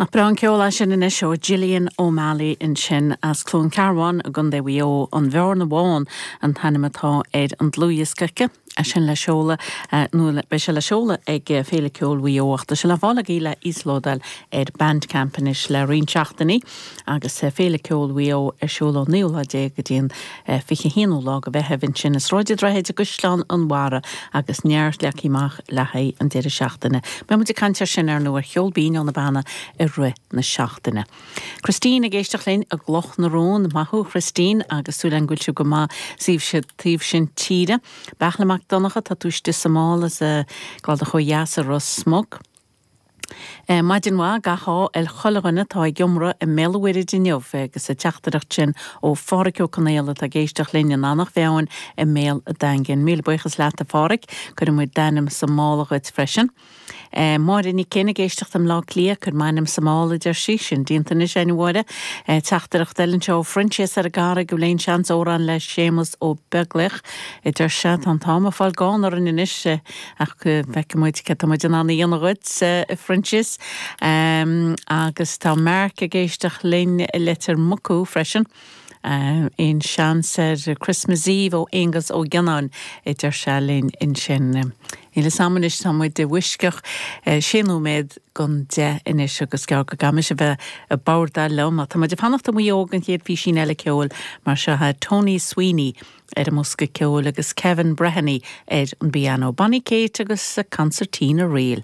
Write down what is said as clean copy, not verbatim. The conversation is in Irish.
Nach breá an ceol é sin anois ó Gillian O'Malley ansin as Cluain Cearbán i gContae Mhaigh Eo, An Bhearna Bhán an t-ainm atá ar an dlúthdhiosca aici. É sin le seoladh, nó beidh sé le seoladh ag Féile Ceoil Mhaigh Eo ach tá sé le fáil agaibh le íoslódáil ar Bandcamp anois le roinnt seachtainí agus Féile Ceoil Mhaigh Eo ar siúl ón naoú lá déag go dtí an 21ú lá de Mheitheamh ansin i Sráid an Droichid i gCaisleán an Bharraigh agus neart leagtha amach le haghaidh an deireadh seachtaine. Beidh muid ag caint air sin, ar ndóigh, ar Cheol Binn ó na Banna i rith na seachtaine. Christine ag éisteacht linn i gCloch na Rón. Maith thú, a Christine, agus súil agam go bhfuil sibh go maith sa taobh sin tíre. Beartla Mac Donncha, tá tú istigh sa mála as an gCladach ó dheas i Ros Muc. Maidin mhaith, gach ádh ar chuile dhuine atá ag iomradh i mBéal an Mhuirthid inniu agus an teachtaireacht sin ó Phádhraic Ó Conaola atá ag éisteacht linn in Eanach Mheáin i mBéal an Daingin. Míle buíochas leat a Phádhraic, cuirfidh muid d'ainm sa mála dhuit freisin. Máire Nic Fhinn ag éisteacht i mBleá Cliath, cuir m'ainm sa mála a deir sí, sin déanta anois againn a Mháire. Teachtaireacht eile anseo ó Phroinsias ar an gCarraig, an bhfuil aon seans amhrán le Séamus Ó Beaglaoich a deir sé, tá an t-am ag fáil gann orainn anois. Ach feicfidh muid cad tá muid in ann a dhéanamh dhuit, a Phroinsias. Agus tá Mark ag éisteacht linn i Leitir Mucú freisin. Aon seans ar Christmas Eve ó Aonghus Ó Gionnáin, a deir sé linn ansin. Níl fhios a'm anois, tá muid i bhfoisceacht sé nóiméad gon 10 anois agus gearr go gcaithfimis a bheith ag bordáil liom. Tá muid ag fanacht i Maigh Eo don chéad phísín eile ceoil mar seo é Tony Sweeney ar an mbosca ceoil agus Kevin Breheny ar an bpianó, Bonnie Kate agus a Concertina Reel.